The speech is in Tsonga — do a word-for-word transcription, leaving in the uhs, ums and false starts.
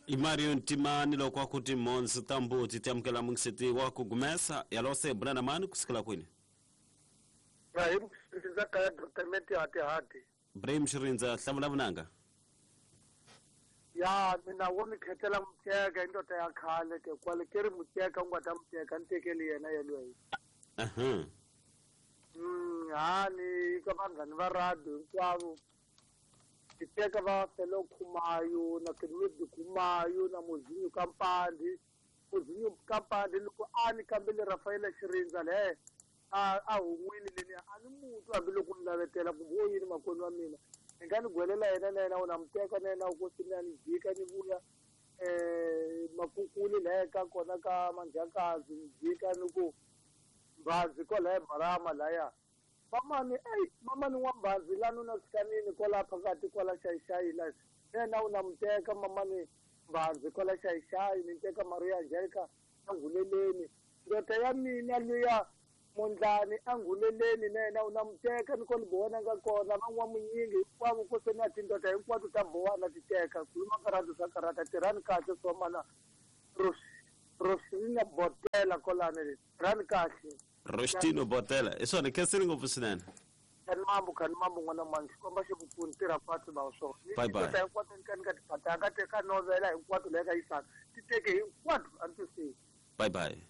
I Mario Ntimani loko a ku timhondzo ta mbuti ti amukela mungiseti wa ku gumesa yalose bulana mani kusukela kwini Ibrahim Xirindza kaya department ya Tihati. Ibrahim Xirindza hlamula vunanga Ya mina wo ni khetela muteka indoda ya khale ke kwale ke ri muteka u nga ta muteka ni tekeli yena yelweyo. Aha. Mm ha ni ka vanghani va radio hinkwavo ti teka va Felo Khumayo na Kenwedi Khumayo na Muzinyu Kampandi Muzinyu Kampandi loko a ni kambele Rafaela Xirindza le a a hun'wini leni a ni mutu hambiloko ni lavetela kumbe o yini makwenu wa mina ni nga ni gwelela yena na yena u na muteka na yena u kosini a ni jika ni vuya um makukuli laya ka kona ka manjakazi ni jika ni ku mbhazi kwalaya marama laya mamani eyi mamani wa mbhazi lani u na swikanini kwala phakathi kwala xayixayi la na yena u na muteka mamani mbhazi kwala xayixayi ni teka Maria Angelica anguleleni ndoda ya mina luya Mondlani anguleleni na yena u na muteka ni ko ni bowana nga kona van'wamunyingi hinkwavo ko se na tindoda hinkwato ta bowana ti teka khuluma karata swa karata tirhani kahle swa mana Rosina Botela kolani tirhani kahle Rostino Botela i swona khensini ngopfu swinene kani mambu kani mambu n'wana mani xikomba xi ku pfuni tirha fatshe va swona Bye bye. Tindoda hinkwato ni ka ni ka tiphatanga teka novela hinkwato leyi ka yisaka ti teke hinkwato a ni twisisi bye bye.